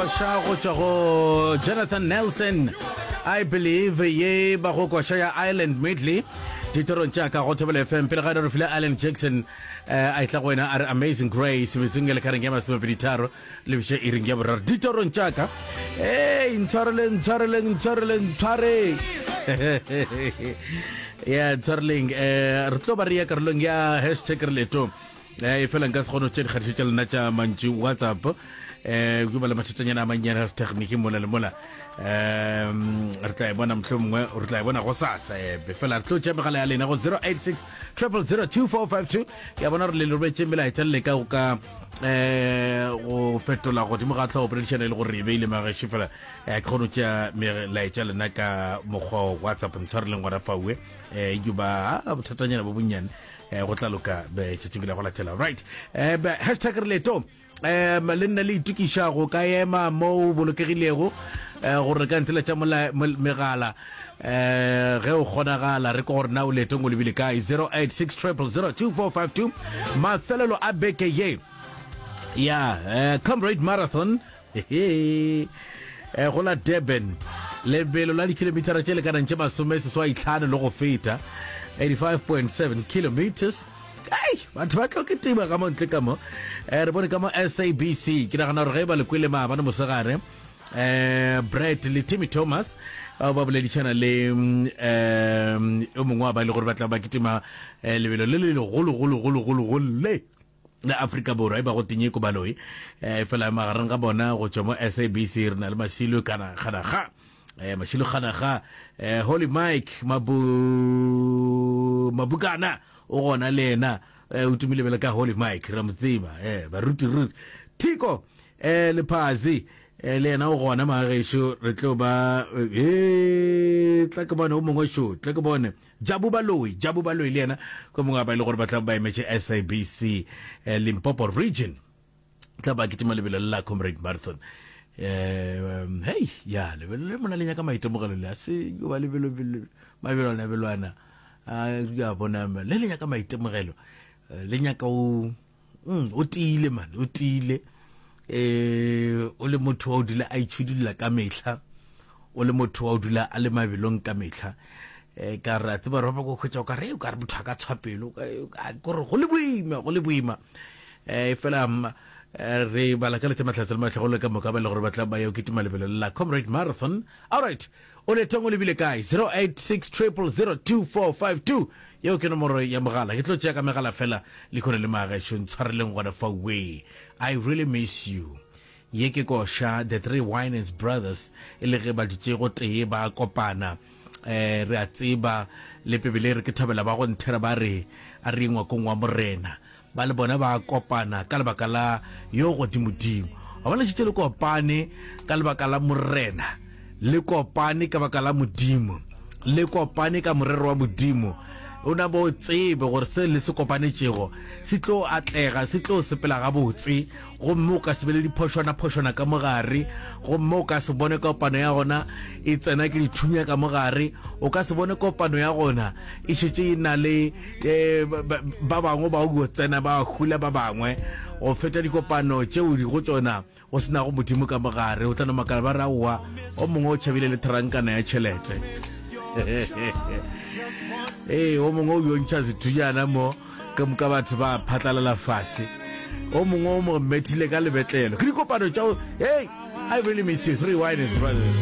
Koša go tšwa go Jonathan Nelson I believe ye ba go koša ya Island Medley ditorong tša ka go Thobela FM pele ga re file Alan Jackson eh, a etla go wena a re Amazing Grace metsong e lekareng ya masomepeditharo lebiša iring ya boraro ditorong tša ka ei ntshwareleng ntshwareleng ntshwareleng ntshwareng ya ntshwareleng um re tlo ba re ya karolong ya hashtag re leetong um e fela nka se kgone go tšea dikgatišo tša lena tša mantšu whatsapp um ke ba le mathatanyana a mannyane ga setegniki mola le mola um re tla e bona mohlho mongwe re tla e bona go sasa ebe fela re tlo tšea megala ya lena go 086 000 2452 ke a bona gore le robetše melaetša le leka go ka um go fetola godimo ga tlhogo poledišano e le gore e beile magešo fela um ke kgone go tšea melaetša lena ka mokgwa wa whatsapp ntshwareleng gona faue um ke ba bothatanyana bo bonnyane um go tla loka tšatšing la go latela right um hashtag re leto um le nna le itokiša go ka ema mo o bolokegilego um gore ka ntsela tša megala um ge o kgonagala re ko gore na o leetong o lebile kae 086 0002452 mafelelo a beke ye ya uh, comrade marathon eh, go la durban lebelo la dikilomitara tše lekanang tše masome seswai tlhano le go feta 85.7 kilometers Ei, batho ba tlo kitima ka mo ntle ka mo. Eh, re bone ka mo SABC. Ke nagana gore ge ba le kwele maabane mosegare, eh, Brett le Timmy Thomas bao ba boledišana le um yo mongwe wa ba e le gore ba tla ba kitima eh, lebelo le le legolo golo golo golo golo le la Afrika Borwa e ba go Tinyeko Baloyi eh, fela magareng ga bona go tšwa mo SABC re na le Mashilo kana gana ga eh, Mashilo gana ga eh, Holy Mike Mabu Mabukana O gona le yena eh, o tumile bjale ka Holy Mike, ra mo tseba eh, baruti ruti. Thiko eh, Lephazi eh, le yena o gona magagešo, re tlo ba eh, tla ke bone o mongwe šo, tla ke bone Jabu Baloi, Jabu Baloi le yena ko mongwe ba e le gore ba tla ba emetše SABC eh, Limpopo region. Tla ba kitima lebelo le la Comrade Marathon. Um, hei, ya lebelo le mona le nyaka maitemogelo le a se yo ba lebelo mabelwana belwana a ya bona le le nyaka maitemogelo eh, le nyaka o mm, o tiile man o tiile eh o le motho wa o dula a itšhidulla ka mehla o le motho wa o dula a le mabelong ka mehla eh ka re a tseba re ba go khwetša o ka re o ka re motho a ka tshwa pelo gore go le boima go le boima eh fela eh, re bala ka letša mahlatse le mahlogolo ka moka ba le gore ba tla ba yo kitima lebelo la comrade marathon all right o letong o lebile kae 086 0002452 yeo ke nomoro ya mogala ke tlo tšea ka megala fela le khone le magešo ntshwareleng gona fa way i really miss you Ye ke koša The Three Winans Brothers e le ge ba dutše gotee ba kopana. Eh, re a tseba le Bibele e re ke thabela ba go nthera ba re a re ye ngwakong wa Morena. Ba le bona ba kopana ka lebaka la yo godimodimo. Wa bona šetše le kopane ka lebaka la Morena, le kopane ka baka la Modimo, le kopane ka morero wa Modimo. O na bo tsebe gore se le se kopanetšego se tlo atlega, se tlo sepela gabotse. Gomme o ka se be le diphošwana-phošwana ka mo gare, gomme o ka se bone kopano ya gona e tsena ke dithunya ka mo gare, o ka se bone kopano ya gona e šetše e na le eh, ba bangwe ba go tsena ba hula ba bangwe go feta dikopano tšeo di go tšona go se nago modimo ka mo gare. O tla no makala ba re aowa, o mongwe o tšhabile le therankana ya tšhelete. Ee, o mongwe o yo ntšha sethunyana mo. Ka moka batho ba phatlalala fase. O mongwe o mo methile ka lebetlelo. Ke dikopano tša hey, I really miss you, Three Winans Brothers.